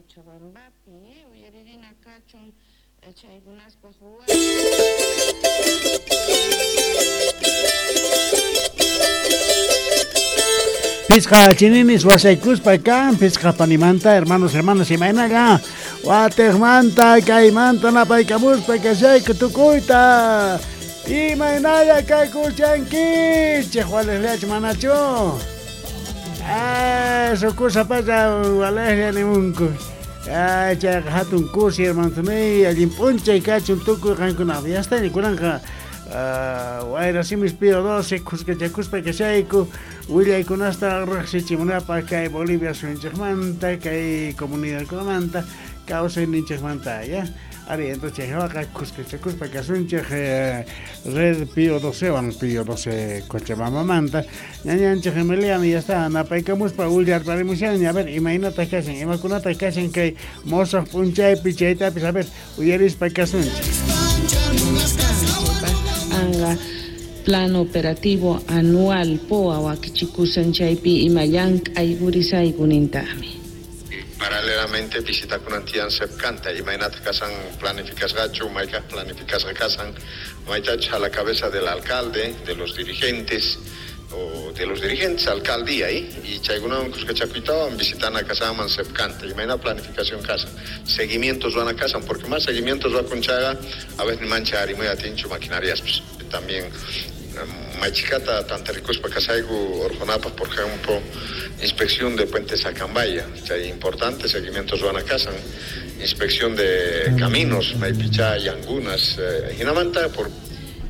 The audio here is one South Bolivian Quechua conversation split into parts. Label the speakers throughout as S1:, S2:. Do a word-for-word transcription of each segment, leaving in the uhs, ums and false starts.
S1: Cochabambapi uyaririna kachun chaykunaspaq
S2: Pisqa chinimis wasaykuspa kan pisqa panimanta hermanos hermanas imaynalla watejmanta kaymanta napaykamuspa kashayku tukuyta imaynalla kaykuchankichej walejllach manachu eso pasa walejlla nimunku ay chayqa hatun kusi hermanosniyy allin p'unchay kachun tukuy qankunaqa yastani kunanqa wayra simis Pío doce kuskachakuspa kashayku willaykunasta riqsichimunapaq kay Bolivia suyunchikmanta kay comunidadkunamanta kawsayninchikmanta ya ari entonces chaywaqa kuskachakuspa kasunchik red Pío docewan Pío doce Cochabambamanta ñañanchik Emiliano ya está napaykamuspa willarparimushanña a ver imaynata kashan imakunata kashan kay mosoq p'unchaypi chaytapis a ver uyarispa kasunchik.
S1: Anga plan operativo anual P O A wakichikusan chaypi ima llank'ay purisaykunintaqmi.
S3: Paralelamente visitakunan tiyan sepkanta imaynata kasan planificasqachu maykaq planificasqa kasan maytachu a la cabeza del alcalde, de los dirigentes o de los dirigentes alcaldía ¿eh? Y chaykunawan kuskachakuytawan visitana kasanman sepkanta imayna planificación kasan seguimientos van a kasan porque más seguimientos va con chaga a veces mancha arimuy atinchu maquinarias pues, también machicata tantarikuspa kasayku orjonapaq por ejemplo inspección de Puente Sacambaya chay importante seguimientos van a kasan inspección de caminos maypicha yangunas eh, hinamanta por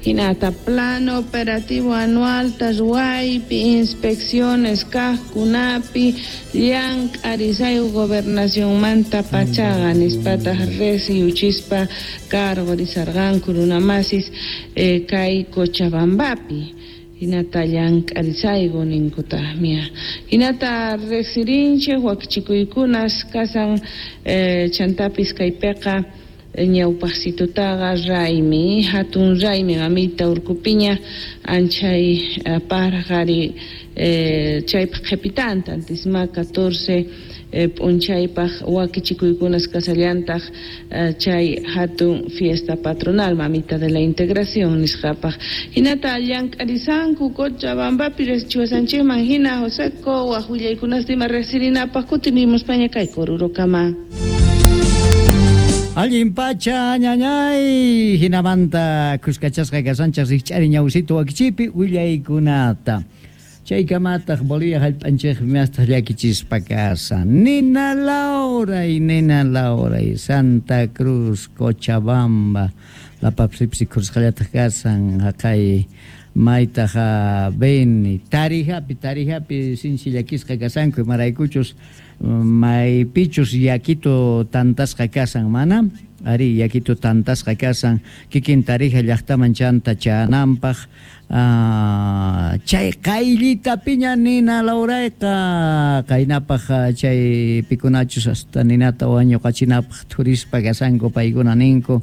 S1: Hinata plan operativo anual taswaypi inspecciones kajkunapi llank'arisayu gobernacionmanta pachaqa nispataq reciuchispa cargorisarqanku runamasis eh, kay Cochabambapi hinata llank'arisayku ninkutaqmia hinata riqsirinchik wakichikuykunas kasan eh, chantapis kaypiqa ñawpaqsitutaqa raymi hatun raymi mamita urkupiña anchay parqari eh, chaypaq qhipitanta antisma catorce eh, p'unchaypaq wakichikuykunas kasallantaq eh, chay hatun fiesta patronal mamita de la integración nisqapaq hinata llank'arisanku Cochabambapi riqsichiwasanchikman hina Joseco waq willaykunasta ima riqsirinapaq kutirimuspaña kay Korurokama.
S4: Allin pacha ñañay hinamanta kuskachasqa kasanchaq rikch'ari ñawsito wakichipi willaykunata chaykamataq Bolivia hallp'anchikpi mastaq llakichispa kasan Nina Lauray Nina Lauray Santa Cruz Cochabamba lapapsipsi kursqallataq kasan haqay maytaq Beni Tarijapi Tarijapi sinchi llakisqa kasanku imaraykuchus maypichus yakito tantasqa kasan mana ari yakito tantasqa kasan kikin Tarija llaqtaman chanta chananpaq chay qayllitapiña Nina Laurayqa qaynapaq chay pikunachus hasta ninata wañuqachinapaq thurispa kasanku paykuna ninku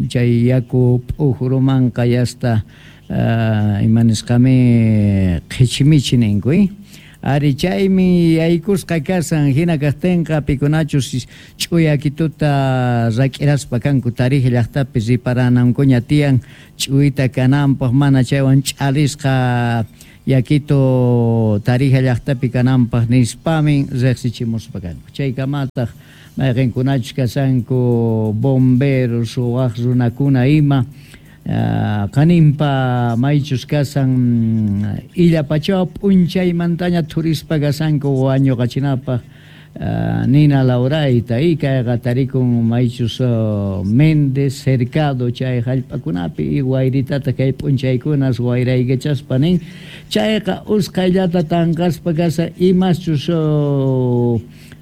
S4: chay yaku p'ujurumanqa yasta imanisqami qhichimichi ninku ari chaymi yaykusqa kasan hina kaqtinqa pikunachus ch'uyakituta rak'iraspa kanku Tarija llaqtapi riparanankuña tiyan ch'uyta kananpaq mana chaywan ch'alisqa yakito Tarija llaqtapi kananpaq nispamin riqsichimuspa kanku chaykamataq mayqinkunachus kasanku bomberos waq runakuna ima qaninpa maychus kasan illapachaw p'unchaymantaña thurispa kasanku wañuqachinapaq Nina Laurayta y kayqa tarikun maychus Méndez Cercado chay hallp'akunapi y wayritata kay p'unchaykunas wayraykachaspa nin chayqa usqhayllata tanqaspa kasa imaschus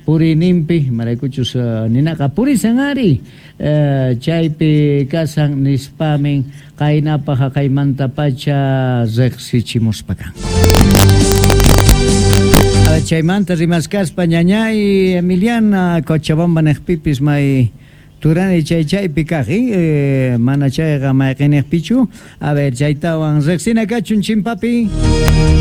S4: purininpi maraykuchus ninaqa purisan ari chaypi kasan nispamin qaynapaq haqaymantapacha riqsichimuspa kanku. Chaymanta rimaskaspa ñañay Emiliana Cochabamba niqpipis may turani chay chaypi kaq eh, mana chayqa mayqiniqpichu a ver chaytawan riqsina kachun chimpapi.